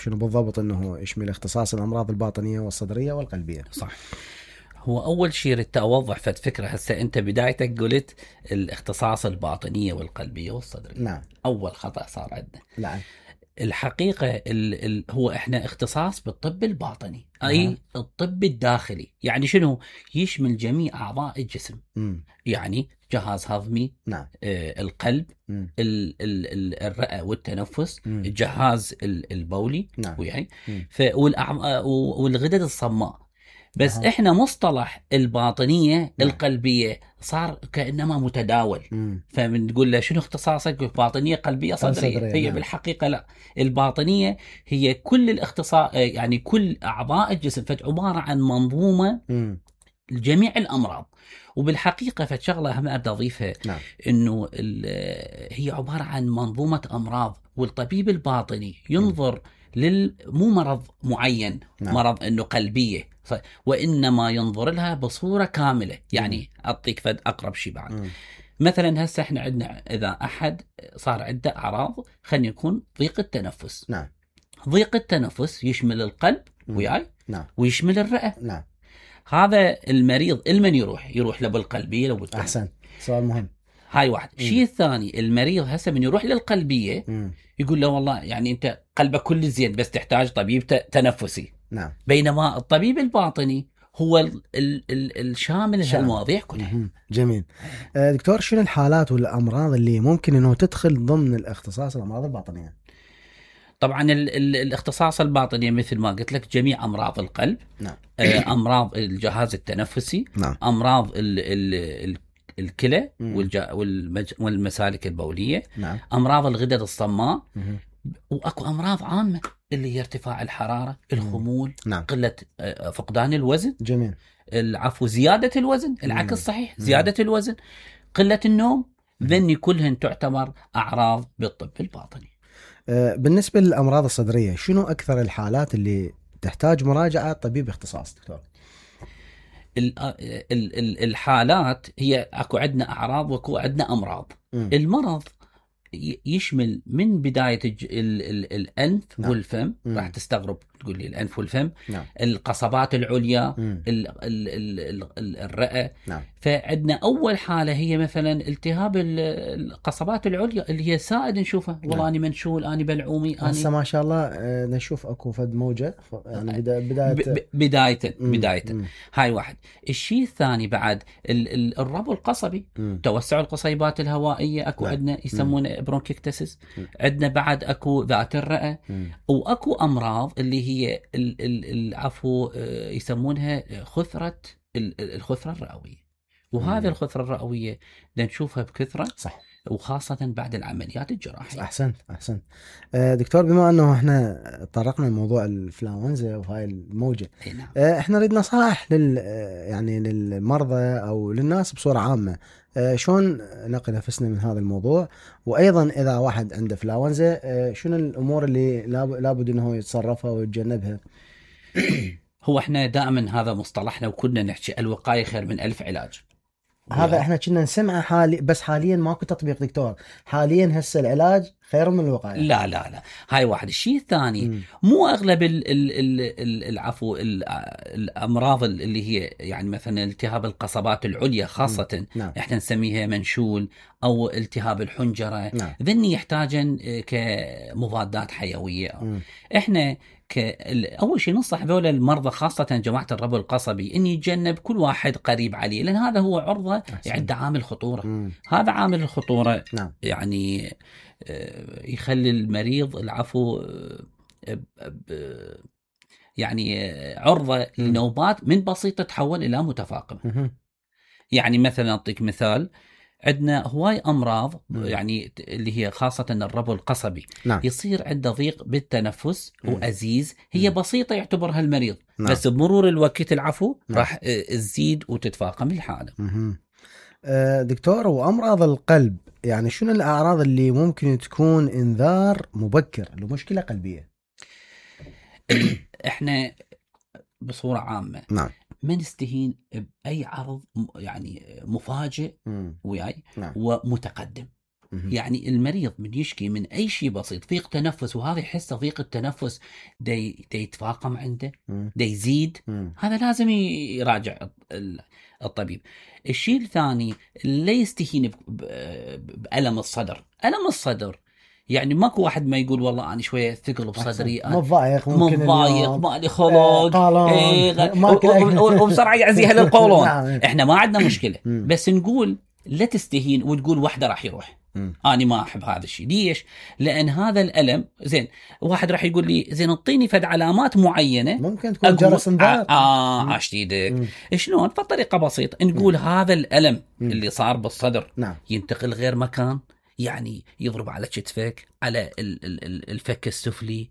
شنو بالضبط انه يشمل اختصاص الامراض الباطنيه والصدريه والقلبيه. صح. هو اول شيء ردت اوضح فد فكره. هسه انت بدايتك قلت الاختصاص الباطنيه والقلبيه والصدريه. نعم. اول خطا صار عندنا. نعم. الحقيقه هو احنا اختصاص بالطب الباطني، اي الطب الداخلي. يعني شنو؟ يشمل جميع اعضاء الجسم. يعني جهاز هضمي، نعم. القلب، الرئه والتنفس، الجهاز البولي، نعم. وياي والغدد الصماء. بس احنا مصطلح الباطنية القلبية صار كأنما متداول. فبنقول له شنو اختصاصك؟ باطنية قلبية صدرية. هي بالحقيقة لا، الباطنية هي كل الاختصاص، يعني كل أعضاء الجسم، فعبارة عن منظومة لجميع الأمراض. وبالحقيقة فشغلة هم أبدأ أضيفها، نعم. إنه هي عبارة عن منظومة أمراض، والطبيب الباطني ينظر مو مرض معين، نعم. مرض إنه قلبية، وإنما ينظر لها بصورة كاملة. يعني أعطيك فد أقرب شيء بعد. مثلا هسه احنا عندنا إذا أحد صار عنده أعراض، خلينا يكون ضيق التنفس. نعم. ضيق التنفس يشمل القلب وياي، نعم. ويشمل الرئة. نعم. هذا المريض المن يروح له بالقلبية لو بالقلب. أحسن، سؤال مهم. هاي واحد. الشيء الثاني، المريض هسه من يروح للقلبية يقول له والله يعني أنت قلبك كل زين بس تحتاج طبيب تنفسي. نعم. بينما الطبيب الباطني هو الشامل هالمواضيع كلها. جميل. دكتور، شنو الحالات والأمراض اللي ممكن أنه تدخل ضمن الاختصاص الأمراض الباطنية؟ طبعا الاختصاص الباطني مثل ما قلت لك جميع أمراض القلب. نعم. أمراض الجهاز التنفسي. نعم. أمراض الكلى والمسالك البولية. نعم. أمراض الغدد الصماء. وأكو أمراض عامة اللي هي ارتفاع الحرارة، الخمول، نعم. قلة فقدان الوزن. جميل. زيادة الوزن، العكس صحيح، زيادة الوزن، قلة النوم. ذني كلهن تعتبر أعراض بالطب الباطني. بالنسبة للأمراض الصدرية، شنو أكثر الحالات اللي تحتاج مراجعة طبيب اختصاص دكتور؟ الحالات هي أكو عندنا أعراض وأكو عندنا أمراض. المرض يشمل من بداية الأنف. نعم. والفم. راح تستغرب تقول لي الأنف والفم. نعم. القصبات العليا، الرئة. نعم. فعندنا أول حالة هي مثلا التهاب القصبات العليا اللي هي سائد نشوفها. والله نعم. أنا منشول، أنا بلعومي، هسه ما شاء الله نشوف أكو فد موجة يعني بداية. هاي واحد. الشيء الثاني بعد الربو القصبي، توسع القصيبات الهوائية. أكو عندنا يسمونه برونكيكتسس. عندنا بعد أكو ذات الرئة. وأكو أمراض اللي هي العفو يسمونها الخثرة الرئوية. وهذه الخثرة الرئوية نشوفها بكثرة. صح. وخاصة بعد العمليات الجراحية. أحسنت. دكتور، بما أنه احنا طرقنا لموضوع الإنفلونزا وهاي الموجة، نعم. احنا نريد نصائح يعني للمرضى أو للناس بصورة عامة، شلون نقي نفسنا من هذا الموضوع؟ وأيضا إذا واحد عنده إنفلونزا، شنو الأمور اللي لابد أنه يتصرفها ويتجنبها؟ هو احنا دائما هذا مصطلحنا وكنا نحكي الوقاية خير من 1000 علاج. هذا احنا كنا نسمعه بس حاليا ماكو تطبيق دكتور. حاليا هسه العلاج خير من الوقاية. لا هاي واحد. الشيء الثاني، مو اغلب العفو الامراض اللي هي يعني مثلا التهاب القصبات العليا خاصة. نعم. احنا نسميها منشول او التهاب الحنجرة. نعم. ذني يحتاجن كمضادات حيوية. احنا أول شيء ننصح ذولا المرضى خاصة جماعة الربو القصبي إن يتجنب كل واحد قريب عليه، لأن هذا هو عرضة يعد عامل خطورة. هذا عامل الخطورة. نعم. يعني يخلي المريض العفو يعني عرضة لنوبات من بسيطة تتحول إلى متفاقمة. يعني مثلا أعطيك مثال، عندنا هواي أمراض يعني اللي هي خاصة الربو القصبي. نعم. يصير عنده ضيق بالتنفس وأزيز، هي بسيطة يعتبرها المريض. نعم. بس بمرور الوقت العفو نعم. راح تزيد وتتفاقم الحالة. دكتور، وأمراض القلب يعني شنو الأعراض اللي ممكن تكون إنذار مبكر لمشكلة قلبية؟ إحنا بصورة عامة نعم. ما نستهين بأي عرض يعني مفاجئ وياي. نعم. ومتقدم. يعني المريض من يشكي من اي شيء بسيط، ضيق تنفس، وهذا يحس ضيق التنفس دي يتفاقم عنده، دي يزيد، هذا لازم يراجع الطبيب. الشيء الثاني لا يستهين بألم الصدر. ألم الصدر يعني ماكو واحد ما يقول والله أنا شوية ثقل بصدري، مضايق، مالي خلق، وبسرعة يعزيها للقولون. احنا ما عندنا مشكلة، بس نقول لا تستهين وتقول واحدة راح يروح. أنا ما أحب هذا الشيء. ليش؟ لأن هذا الألم زين، واحد راح يقول لي زين اعطيني فد علامات معينة ممكن تكون جرس انذار. عاشت ايدك. شلون؟ بطريقة بسيطة نقول هذا الألم اللي صار بالصدر ينتقل غير مكان، يعني يضرب على كتفك، على الفك السفلي،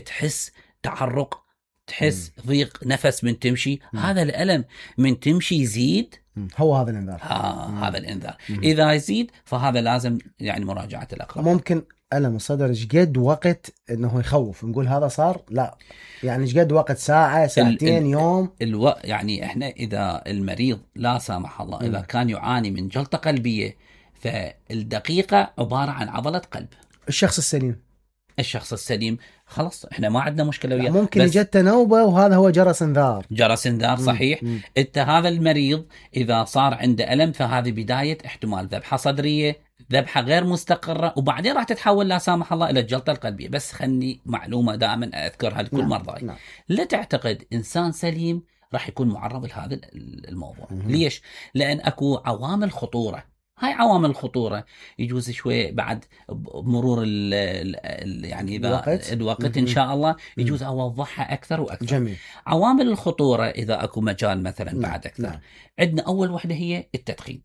تحس تعرق، تحس ضيق نفس من تمشي. هذا الألم من تمشي يزيد، هو هذا الانذار. هذا الانذار. اذا يزيد فهذا لازم يعني مراجعة الأقرب. ممكن ألم الصدر جد وقت انه يخوف نقول هذا صار؟ لا، يعني جد وقت ساعة، ساعتين، يوم. يعني احنا اذا المريض لا سامح الله اذا كان يعاني من جلطة قلبية، فالدقيقة عبارة عن عضلة قلب. الشخص السليم خلاص احنا ما عندنا مشكلة وياه. ممكن يجت نوبة وهذا هو جرس انذار. صحيح. انت هذا المريض اذا صار عنده ألم فهذه بداية احتمال ذبحة صدرية، ذبحة غير مستقرة، وبعدين راح تتحول لا سامح الله الى الجلطة القلبية. بس خلني معلومة دائما اذكرها لكل مرضاي. لا تعتقد انسان سليم راح يكون معرض لهذا الموضوع. ليش؟ لان اكو عوامل خطورة. هاي عوامل الخطورة يجوز شوي بعد مرور يعني الوقت إن شاء الله يجوز أوضحها أكثر وأكثر. جميل. عوامل الخطورة إذا أكو مجال مثلا بعد أكثر. عندنا أول وحدة هي التدخين.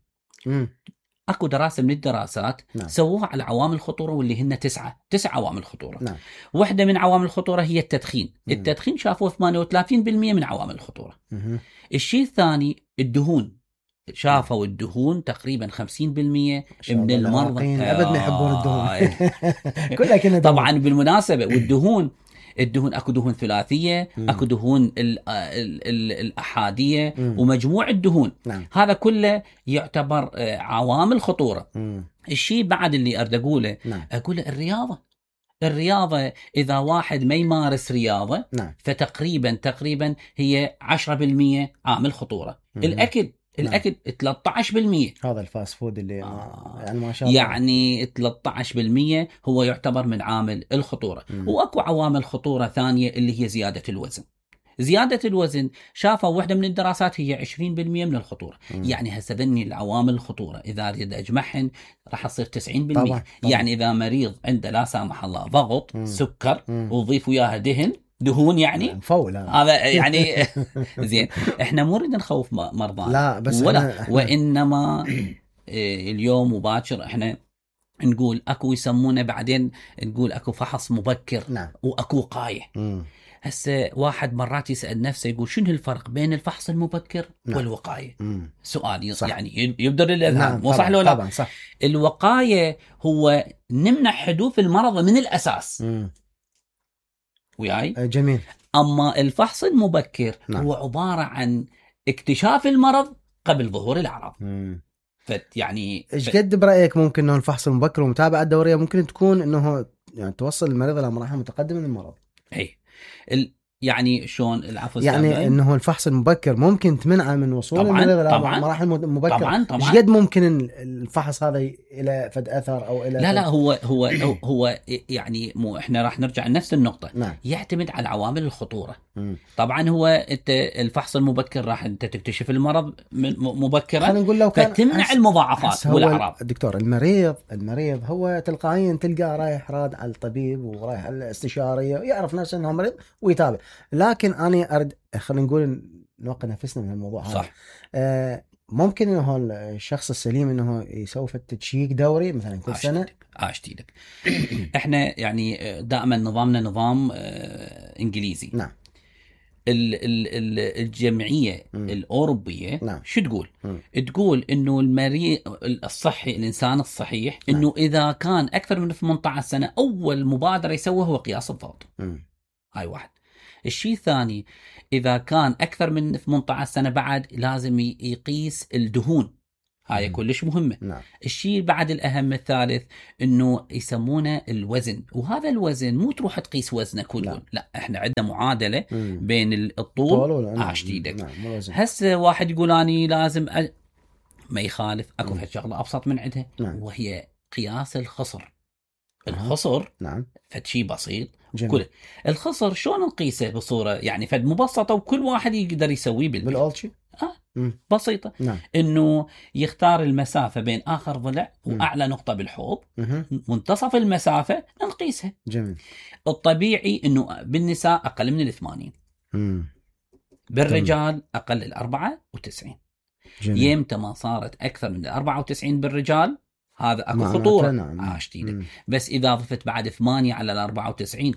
أكو دراسة من الدراسات سووها على عوامل الخطورة واللي هن 9 عوامل خطورة. واحدة من عوامل الخطورة هي التدخين. التدخين شافوه 38% من عوامل الخطورة. الشيء الثاني الدهون. شافوا الدهون تقريبا 50% من المرضى أبد ما يحبون الدهون. كلها كنا طبعا بالمناسبة. والدهون اكو دهون ثلاثية، اكو دهون الأحادية، ومجموع الدهون. هذا كله يعتبر عوامل خطورة. الشيء بعد اللي أريد أقوله أقول الرياضة إذا واحد ما يمارس رياضة فتقريبا هي 10% عامل خطورة. الأكل 13%. هذا الفاست فود اللي يعني ما شاء الله، يعني 13% هو يعتبر من عامل الخطورة. واكو عوامل خطورة ثانية اللي هي زيادة الوزن. زيادة الوزن شافوا واحدة من الدراسات هي 20% من الخطورة. يعني هسه ذني العوامل الخطورة إذا أريد أجمعهن راح أصير 90%. طبعا. يعني إذا مريض عنده لا سامح الله ضغط، سكر، وضيف وياها دهون يعني هذا يعني زين. احنا مو نريد نخوف مرضانا، لا، بس وانما اليوم وباكر احنا نقول اكو يسمونه بعدين نقول اكو فحص مبكر. واكو وقايه. هسه واحد مرات يسأل نفسه يقول شنو الفرق بين الفحص المبكر والوقاية؟ سؤال يعني يبدر الأذهان. مو صح لو لا؟ طبعا صح. الوقاية هو نمنع حدوث المرض من الأساس. وياي؟ جميل. أما الفحص المبكر هو عبارة عن اكتشاف المرض قبل ظهور الأعراض. يعني ايش قد برأيك ممكن انه الفحص المبكر والمتابعة الدورية ممكن تكون انه يعني توصل المريض الى مراحل متقدمة من المرض؟ يعني شلون العفو؟ يعني انه الفحص المبكر ممكن تمنعه من وصول المريض الى مراحل مبكرة. طبعا. ايش قد ممكن الفحص هذا الى فد اثر او الى لا هو يعني مو احنا راح نرجع لنفس النقطة. يعتمد على عوامل الخطورة. طبعا هو انت الفحص المبكر راح انت تكتشف المرض مبكرا، نقول لو فتمنع المضاعفات والاعراض. دكتور المريض هو تلقائيا تلقاه رايح راد على الطبيب ورايح على الاستشارية ويعرف نفسه انه مريض ويتابع. لكن انا ارد خلينا نقول نوقف نفسنا من الموضوع هذا. صح. ممكن انه الشخص السليم انه يسوي تشيك دوري مثلا كل سنه. اشتيلك احنا يعني دائما نظامنا نظام انجليزي. الجمعيه الاوروبيه شو تقول؟ تقول انه المريض الصحي، الانسان الصحيح، انه اذا كان اكثر من 18 سنه اول مبادره يسويها هو قياس الضغط. هاي واحد. الشيء الثاني إذا كان أكثر من 18 سنة بعد لازم يقيس الدهون. هاي كلش مهمة. نعم. الشيء بعد الأهم الثالث إنه يسمونه الوزن، وهذا الوزن مو تروح تقيس وزنك وتقول لا احنا عندنا معادلة بين الطول عاشتيدك. نعم. هسه واحد يقول أني لازم ما يخالف، أكو في شغلة أبسط من عندها. نعم. وهي قياس الخصر. الخصر نعم فد شيء بسيط. جميل. الخصر شلون نقيسه بصورة يعني فد مبسطة وكل واحد يقدر يسويه بالأولشي بسيطة. نعم. انه يختار المسافة بين اخر ضلع واعلى نقطة بالحوض، منتصف المسافة نقيسها. جميل. الطبيعي انه بالنساء اقل من 80، بالرجال اقل 94. يمتى ما صارت اكثر من 94 بالرجال هذا اكو خطورة. نعم. بس اذا ضفت بعد 8 على 94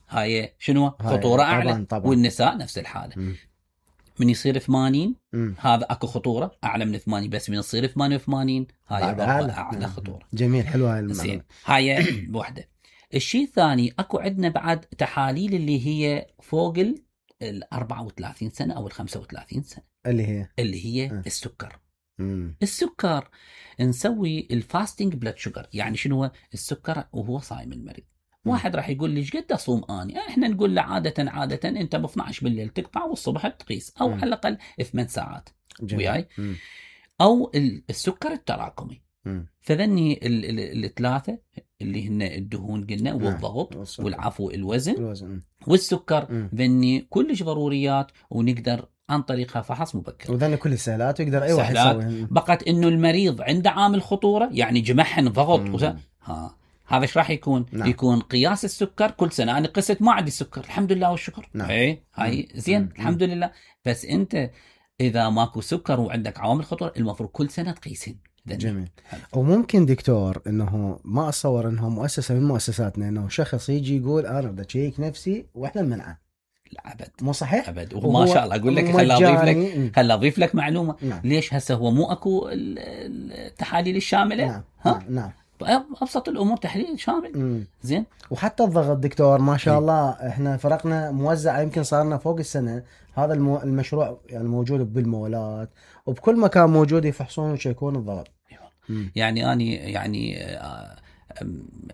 هاي شنو خطورة اعلى. طبعاً. والنساء نفس الحالة. من يصير 80 هذا اكو خطورة اعلى من 80، بس من يصير 88 هاي اعلى خطورة. جميل. حلوة هاي المعلومة. هاي بوحدة. الشيء الثاني اكو عندنا بعد تحاليل اللي هي فوق ال 34 سنة او ال 35 سنة اللي هي السكر. السكر نسوي الفاستنج بلاد شوجر. يعني شنو هو السكر وهو صايم المريض؟ واحد راح يقول لي ايش قد اصوم اني؟ احنا نقول له عاده انت ب 12 بالليل تقطع والصبح تقيس، او على الاقل 8 ساعات وياي. او السكر التراكمي. فذني الثلاثه اللي هن الدهون قلنا والضغط والعفو الوزن والسكر، ذني كلش ضروريات ونقدر عن طريقها فحص مبكر. وذني كل السهلات ويقدر اي واحد يسويها. بقت انه المريض عنده عامل خطوره يعني جمحن ضغط هذا ايش راح يكون؟ نعم. يكون قياس السكر كل سنه. انا قست ما عندي سكر الحمد لله والشكر. نعم. هاي زين الحمد لله. بس انت اذا ماكو سكر وعندك عوامل خطوره المفروض كل سنه تقيسين. جميل. وممكن دكتور انه ما اتصور انه مؤسسه من مؤسساتنا انه شخص يجي يقول انا بدي اشيك نفسي واحنا نمنعه. لا ابد. مو صحيح. ابد. وما شاء الله اقول لك خل اضيف لك معلومه. نعم. ليش هسه هو مو اكو التحاليل الشامله؟ نعم. ابسط الامور تحليل شامل. زين. وحتى الضغط دكتور ما شاء الله احنا فرقنا موزع يمكن صارنا فوق السنه. هذا المشروع يعني موجود بالمولات وبكل مكان موجود يفحصون ويشيكون الضغط. يعني اني يعني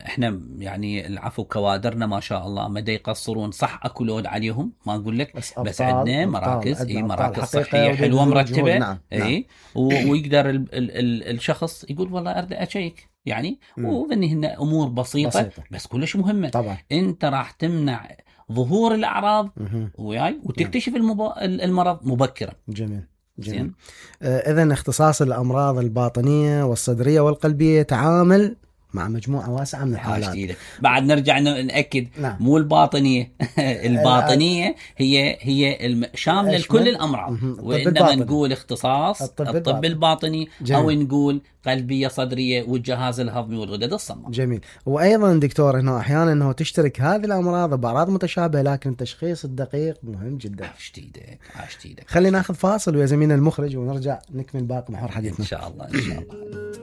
احنا يعني العفو كوادرنا ما شاء الله ما يقصرون. صح اكو لود عليهم ما اقول لك، بس عندنا مراكز مراكز صحيه حلوه مرتبه. نعم. ويقدر الشخص يقول والله اريد اشيك يعني. وذني هن امور بسيطه بس كلش مهمه. طبعا انت راح تمنع ظهور الاعراض وياي وتكتشف المرض مبكرا. جميل. إذن اختصاص الأمراض الباطنية والصدرية والقلبية تعامل مع مجموعة واسعة من الحالات. بعد نرجع نأكد. نعم. مو الباطنية الباطنية هي شاملة لكل الأمراض. وإنما نقول اختصاص الطب الباطني. جميل. أو نقول قلبية صدرية والجهاز الهضمي والغدد الصماء. جميل. وأيضا دكتور هنا أحيانا أنه تشترك هذه الأمراض بأعراض متشابهة لكن التشخيص الدقيق مهم جدا. عشتيدك. خلينا ناخذ فاصل ويا زميلنا المخرج ونرجع نكمل باقي محور حديثنا إن شاء الله.